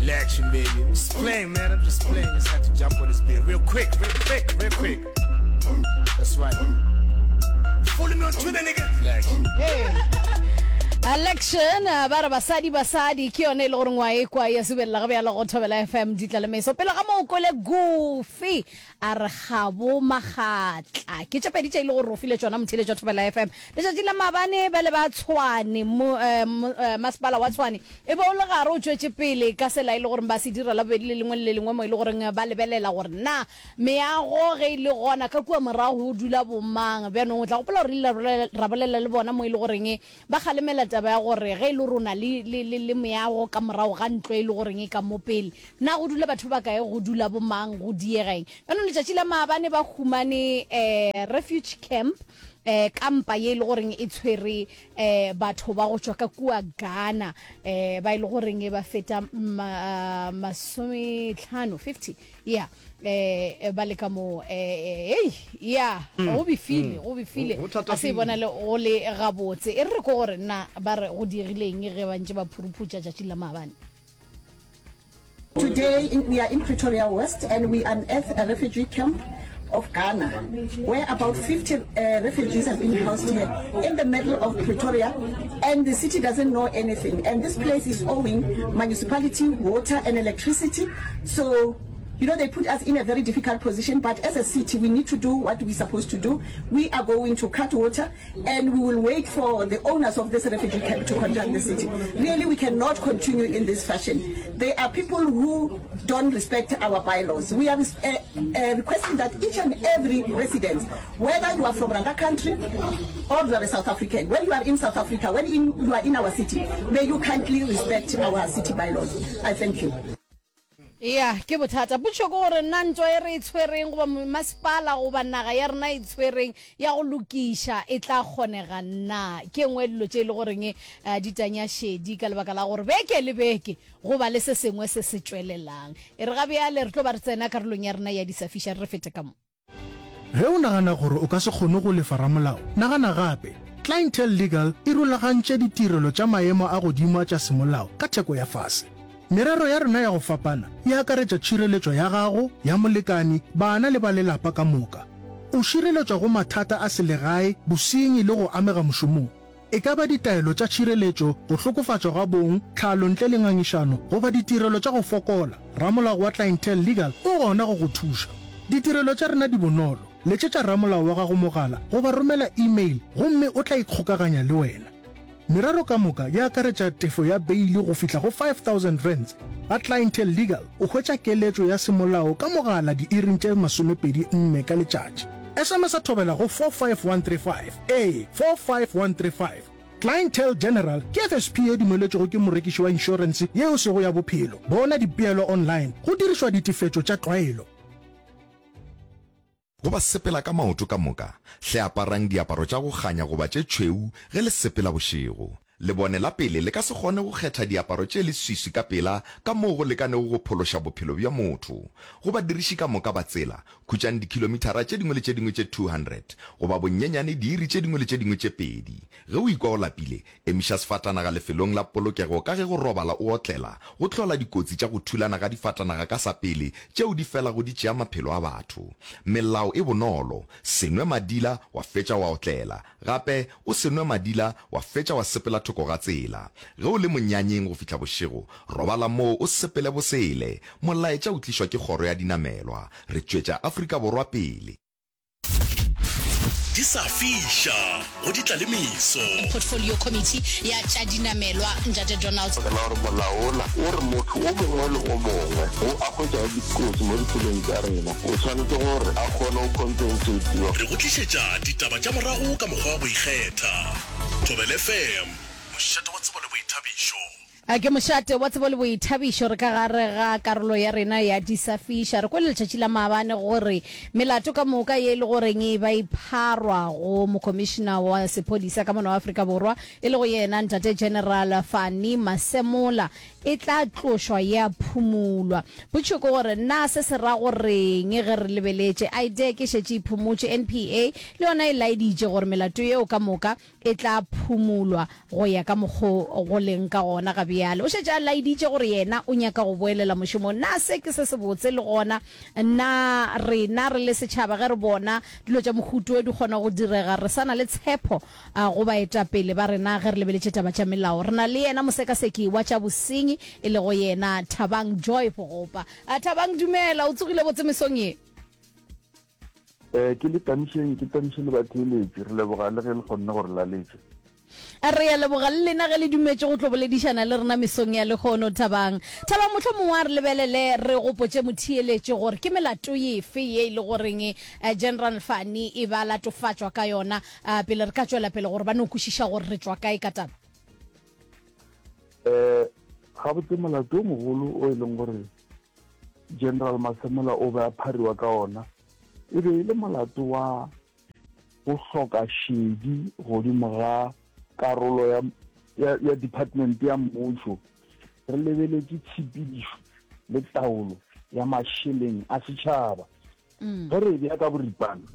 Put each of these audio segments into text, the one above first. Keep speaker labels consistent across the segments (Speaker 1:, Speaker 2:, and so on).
Speaker 1: Lection, baby. I'm just playing, man. I'm just playing. Just had to jump on this beat real quick, real quick, real quick. That's right. Follow me on Twitter, nigga. Lection.
Speaker 2: Hey. Election eh, ba re basadi basadi ke yone e le gore ngwa e kwa ya subelela ga bjalo go thobela fm ditla le meso pele ga moo kwele goofy a re ga bo magatla ke tše pedi tše e le gore o file tšona motheeletši wa thobela fm Letšatši la maabane bjale ba Tshwane, mo, eh, eh, masepala wa Tshwane e be o le gare o tšwetše pele ka sela e le goreng ba se dira Labobedi le lengwe le le lengwe mo e le goreng ba lebelela gore na meago ge e le gona ka kua morago go dula bomang. Bjanong o tla gopola gore re ile ra bolela le bona mo e le goreng ba kgalemela taba ya gore ge e le gore o na le, le, le, le meago ka morago ga ntlo e le goreng e ka mo pele, na go dula batho ba bakae, go dula bomang, go diega eng. Bjanong letšatši la maabane ba humane eh, refuge camp eh kampa ye e le goreng e tshwere eh batho ba go tšwa ka kua Ghana eh ba e le goreng e ba feta masometlhano 50 yeah eh ba le ka mo eh hey yeah mm. go befile mm. go befile a se bona le go le gabotse e re ko gore nna ba re go diegileng ge ba ntse ba phuruphutša tšatši la maabane
Speaker 3: Today in, we are in Pretoria West and we unearthed a refugee camp of Ghana where about 50 uh, refugees have been housed here in the middle of Pretoria and the city doesn't know anything and this place is owing municipality water and electricity so you know, they put us in a very difficult position, but as a city, we need to do what we're supposed to do. We are going to cut water and we will wait for the owners of this refugee camp to contact the city. Really, we cannot continue in this fashion. There are people who don't respect our bylaws. We are uh, uh, requesting that each and every resident, whether you are from another country or you are a South African, when you are in South Africa, when in, you are in our city, may you kindly respect our city bylaws. I thank you.
Speaker 2: Ya, ke bothata. Potšišo ke gore na ntwa e re e tshwereng goba masepala goba naga ya rena e tshwereng ya go lokiša e tla kgonega na? Ke e nngwe ya dilo tše e le goreng di tanya šedi ka lebaka la gore beke le beke go ba le se sengwe se se tšwelelang. E re ga bjale re tlo ba re tsena karolong ya rena ya di sa fiša re fete ka mo.
Speaker 4: Ge o nagana gore o ka se kgone go lefa ramolao, nagana gape. Clientele Legal e rulagantše ditirelo tša maemo a godimo a tša semolao ka theko ya fase. Merero ya rena ya go fapana e akaretša tšhireletšo ya gago, ya molekani, bana le ba lelapa ka moka. O šireletšwa go mathata a selegae, bosenyi le go amega mošomong. E ka ba ditaelo tša tšhireletšo, go hlokofatšwa ga bong, tlhalo ntle le ngangišano, goba ditirelo tša go fokola, ramolao wa Clientele Legal o gona go go thuša. Ditirelo tša rena di bonolo, letšetša ramolao wa gago mogala goba romela e-mail gomme o tla ikgokaganya le wena. Merero ka moka e akaretša tefo ya beili go fihla go R5000. Ga Clientele Legal o hwetša keletšo ya semolao ka mogala diiring tše 24 ka letšatši. SMS-a thobela go 45135. Ee, 45135. Clientele General ke FSP ye dumeletšwego ke morekiši wa inšorense ye e sego ya bophelo. Bona dipeelo online go dirišwa ditefetšo tša tlwaelo.
Speaker 5: Go ba sepela ka maoto ka moka, hle aparang diaparo tša go kganya goba tše tšhweu ge le sepela bošego. Lebone la pele le ka se kgone go kgetha diaparo tše leswiswi ka pela ka moo go lekanego go phološa bophelo bja motho. Go badiriši ka moka ba tsela, khutšang dikhilomithara tše dingwe le tše dingwe tše 200, goba bonyenyane diiri tše dingwe le tše dingwe tše pedi. Ge o ikwa o lapile, emiša sefatanaga lefelong la polokego ka ge go robala o otlela go hlola dikotsi tša go thulana ga difatanaga ka sa pele tšeo di felago di tšea maphelo a batho. Melao e bonolo, se nwe madila wa fetša wa otlela. Gape, o se nwe madila wa fetša wa sepela thoko ga tsela. Ge o le monyanyeng go fihla bošego, robala moo o sepele bosele. Molaetša o tlišwa ke Kgoro ya Dinamelwa. Re tšwetša Afrika Borwa pele.
Speaker 6: Di sa fiša go di tla le meso.
Speaker 2: Portfolio Committee ya tša dinamelwa, Ntate Donald.
Speaker 7: Ka la gore molao wola o re motho o mongwe le o mongwe wo a hwetšago dikotsi mo ditseleng tša rena o swanetše gore a kgone go compensatiwa.
Speaker 6: Re go tlišetša ditaba tša morago ka mokgwa wa go ikgetha. Thobela FM, mošate wa tsebo le boithabišo.
Speaker 2: A ke mošate wa tsebo le boithabišo. Re ka gare ga karolo ya rena ya Di sa Fiša. Re kwele letšatši la maabane gore melato ka moka ye e le goreng e ba e pharwa go Mokhomišena wa Sephodisa ka mono Afrika Borwa e lego yena Ntate General Fani Masemola e tla tlošwa ya phumulwa. Potšišo ke gore na se se ra goreng ge re lebeletše IDAC e šetše e phumotše, NPA le yona e laeditše gore melato yeo ka moka. e tla phumolwa go ya ka mokgo go leng ka gona ga bjale. O šetše a laeditše gore yena o nyaka go boelela mošomong. Na se ke se sebotse? Le gona na rena re le setšhaba ge re bona dilo tša mohuto wo di kgona go direga, re sa na le tshepo go baetapele ba rena ge re lebeletše taba tša melao? Re na le yena mosekaseki wa tša bosenyi e lego yena Thabang Joy Bogopa. Thabang, dumela, o tsogile botse mesong ye?
Speaker 8: Eh, ke le tamišeng, ke tamiše le batheeletši. Re leboga le ge le kgonne go re laletša.
Speaker 2: Re a leboga le lena ge le dumetše go tlo boledišana le rena mesong ya lehono. Thabang. Thabang, mohlomongwe a re lebelele re gopotše motheeletši gore ke melato efe ye e le goreng General Fani e ba latofatšwa ka yona pele re ka tšwela pele gore ba no kwešiša gore re tšwa kae ka taba.
Speaker 8: Eh, gabotse molato o mogolo o e leng gore General Masemola o be a phariwa ka ona e be e le molato wa go hloka šedi godimo ga karolo ya, ya, ya department ya mmušo re lebeletše tshepedišo le taolo ya mašeleng a setšhaba. Ge re e bea ka boripana,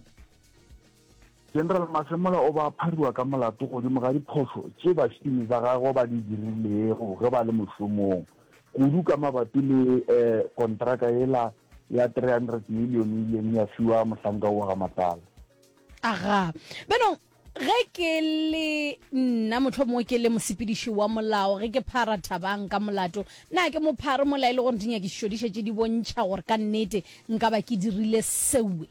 Speaker 8: General Masemola o ba phariwa ka molato godimo ga diphošo tše bašomi ba gagwe ba di dirilego ge ba le mošomong, kudu ka mabapi le kontraka yela ya 300 million e ileng ya fiwa mohlanka wo ga Matlala.
Speaker 2: Aga. Beno, ge ke le nna, mohlomongwe ke le mosepediši wa molao, ge ke phara Thabang ka molato, na ke mo phare mola e le gore dinyakišišo di šetše di bontšha gore ka nnete nka ba ke dirile sewe?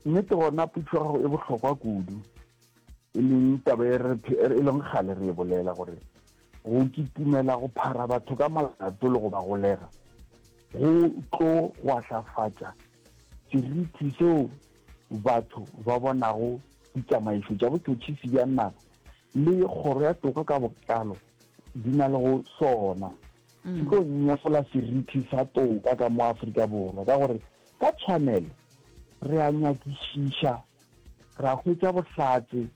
Speaker 8: Nnete gona potšo ya gago e bohlokwa kudu, e leng taba e re e leng kgale re e bolela gore go kitimela go phara batho ka molato le go ba golega go tlo gwahlafatša seriti seo batho ba bonago ditsamaišo tša botšhotšhisi bja naga le kgoro ya toka ka botlalo di na le go sona. Se tlo nyefola seriti sa toka ka mo Afrika Borwa ka gore ka tshwanelo re a nyakišiša, ra hwetša bohlatse,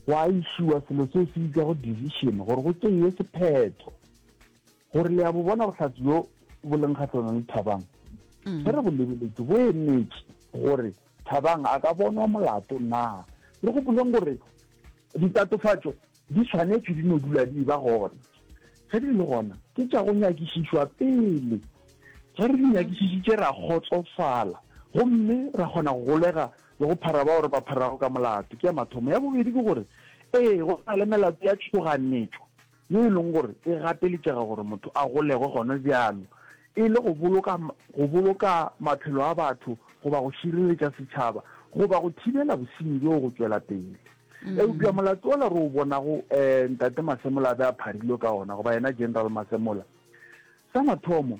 Speaker 8: gwa išiwa selo seo se bitšwago decision gore go tšeiwe sephetho gore le a bo bona bohlatse bjo bo leng kgahlanong le Thabang. Ge re bo lebeletše bo emetše gore Thabang a ka bonwa molato na. Re gopoleng gore ditatofatšo Di swanetšwe di no dula di eba gona. Ge di le gona, ke tša go nyakišišwa pele. Ge re di nyakišišitše ra kgotsofala gomme ra kgona go golega le go phara bao re ba pharago ka molato. Ke ya mathomo. Ya bobedi ke gore, ee, go na le melato ya tšhoganetšo ye e leng gore e gapeletšega gore motho a golegwe gona bjalo e le go boloka, go boloka maphelo a batho goba go šireletša setšhaba goba go thibela bosenyi bjoo go tšwela pele. Eupša molato wola re o bonago um Ntate Masemola a be a pharilwe ka ona, goba yena General Masemola, sa mathomo,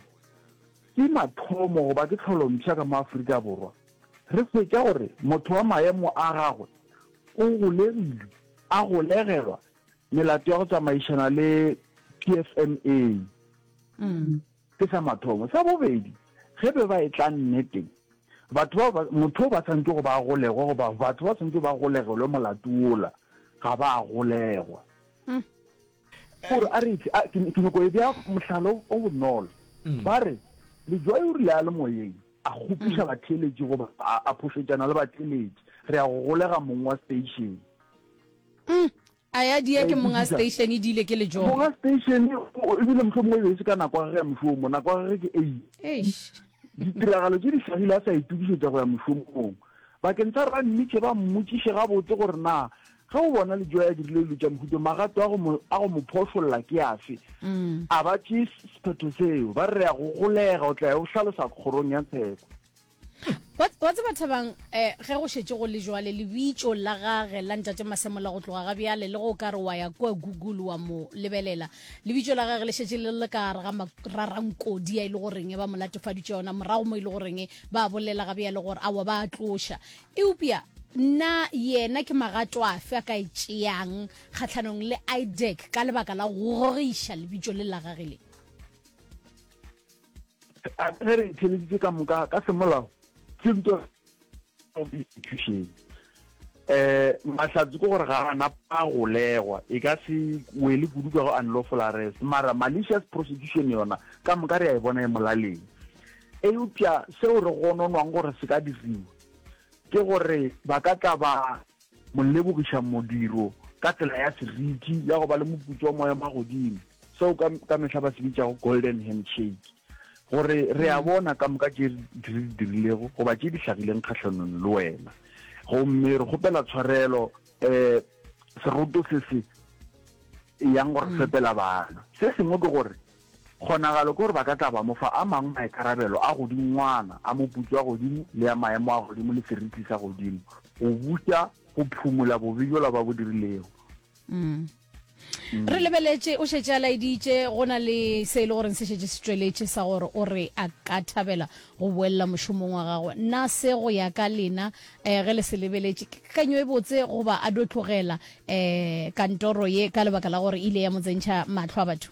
Speaker 8: ke mathomo goba ke tlholompsha ka mo Afrika Borwa, re hwetša gore motho wa maemo a gagwe o golegilwe, a golegelwa melato ya go tsamaišana le PFMA. Ke sa mathomo. Sa bobedi, ge be ba etla nneteng, batho bao ba, motho o ba swanetše go ba a golegwe goba batho ba swanetše ba golegelwe molato wola, ga ba a golegwa. Gore a re, a, ke, ke nyoko e bea mohlala o, o bonolo. Ba re, Lejoe o rile a le moyeng, a kgopiša batheeletši goba a, a phošetšana le batheeletši, re ya go golega mong wa station.
Speaker 2: A ya dia ke monga station e dile ke lejoe.
Speaker 8: Monga station ebile mohlomongwe e be e se ka nako ya gage ya mošomo, nako ya gage ke eight.
Speaker 2: Eish.
Speaker 8: Ditiragalo tše di hlagile a sa itokišetša go ya mošomong. Bakeng sa gore ba mmitše ba mmotšiše gabotse gore na ge o bona Lejoe a dirile dilo tša mohuta magato a go mo a go mo phošolla ke afe, a ba tšee sephetho seo, ba re re ya go golega o tla ya o hlalosa kgorong ya tsheko.
Speaker 2: Wa tseba Thabang, eh, ge go šetše go le jwale, lebitšo la gage la Ntate Masemola go tloga ga bjale, le ge o ka re wa ya kua Google wa mo lebelela, lebitšo la gage le šetše le le ka gare ga mararankodi a e le goreng ba mo latofaditše yona morago mo e le goreng ba bolela ga bjale gore aowa ba a tloša. Eupša na yena ke magato afe a ka e tšeang kgahlanong le IDAC ka lebaka la go gogiša lebitšo le la gage le?
Speaker 8: A ge re theleditše ka moka ka semolao ke ntwa institution eh mahlatse ke gore ga ana pa golegwa e ka se wele kudu ka go unlawful arrest mara malicious prosecution yona ka moka re a e bona e molaleng eupša seo re gononwang gore se ka diriwa ke gore ba ka tla ba. mo lebogiša modiro ka tsela ya seriti ya go ba le moputso wa maemo a godimo, seo ka, ka mehla ba se bitšago golden handshake, gore re a bona ka moka tše re di dirilego goba tše di hlagileng kgahlanong le wena, gomme re kgopela tshwarelo. Um seroto se se yang go re fepela bana. Se sengwe ke gore Kgonagalo ke gore ba ka tla ba mo fa a mangwe maikarabelo a godingwana, a moputso wa godimo le a maemo a godimo le seriti sa godimo, go buša go phumola bobe bjola ba bo dirilego.
Speaker 2: Mm. Re lebeletše, o šetše a laeditše go na le se e le goreng se šetše se tšweletše sa gore o re a ka thabela go boelela mošomong wa gagwe. Na se go ya ka lena um ge le se lebeletše ke kakanyo e botse goba a do tlogela um kantoro ye ka lebaka la gore e ile ya mo tsentšha mahlo a batho?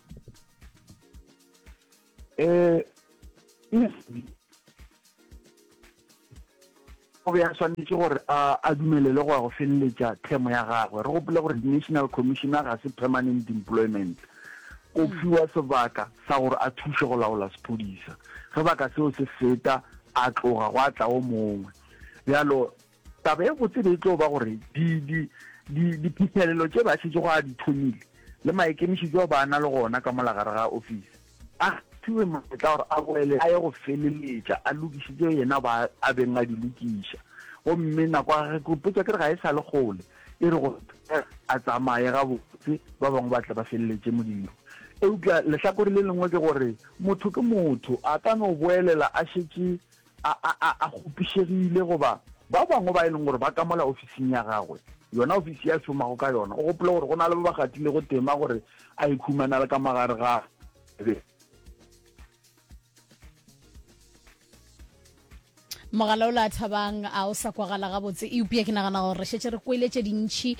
Speaker 8: Eh, o be a swanetše gore a a dumelele go ya go feleletša term ya gagwe. Re gopole gore di-National Commissioner ga se permanent employment. O fiwa sebaka sa gore a thuše go laola sephodisa. Ge baka seo se feta, a tloga gwa tla o mongwe. Bjalo Taba e botse e be e tlo ba gore di, di, di, diphihlelelo tše ba šetšego a di thomile, le maikemišetšo ao ba na le gona ka mola gare ga ofisi, a fiwe monyetla gore a boele a ye go feleletša a lokiše tšeo yena ba a beng a di lokiša. Gomme nako ya gagwe, ke ipotša ke re ga e sa le kgole, e re go a tsamaye gabotse, ba bangwe ba tle ba feleletše modiro. Eupša lehlakore le lengwe ke gore motho ke motho, a ka no boelela a šetše a, a, a, a kgopišegile goba ba bangwe ba e leng gore ba ka mola ofising ya gagwe, yona ofisi ya šomago ka yona, o gopole gore go na le ba ba gatilego tema gore a ikhumana le ka magare ga be.
Speaker 2: Mogala ola Thabang a o sa kwagala gabotse, eupša ke nagana gore re šetše re kwele tše dintši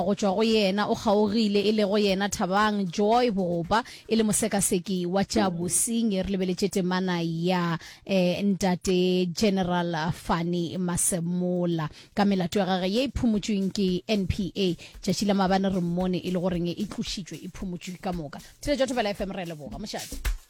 Speaker 2: go tšwa go yena. O kgaogile, e lego yena Thabang Joy Bogopa, e le mosekaseki wa tša bosenyi. Re lebeletše temana ya um Ntate General Fannie Masemola ka melato ya gage ye e phumotšweng ke NPA. Tšatši la maabane re mmone e le goreng e tlošitšwe, e phumotšwe ka moka. Theletšo ya Thobela FM, re a leboga. Mošate.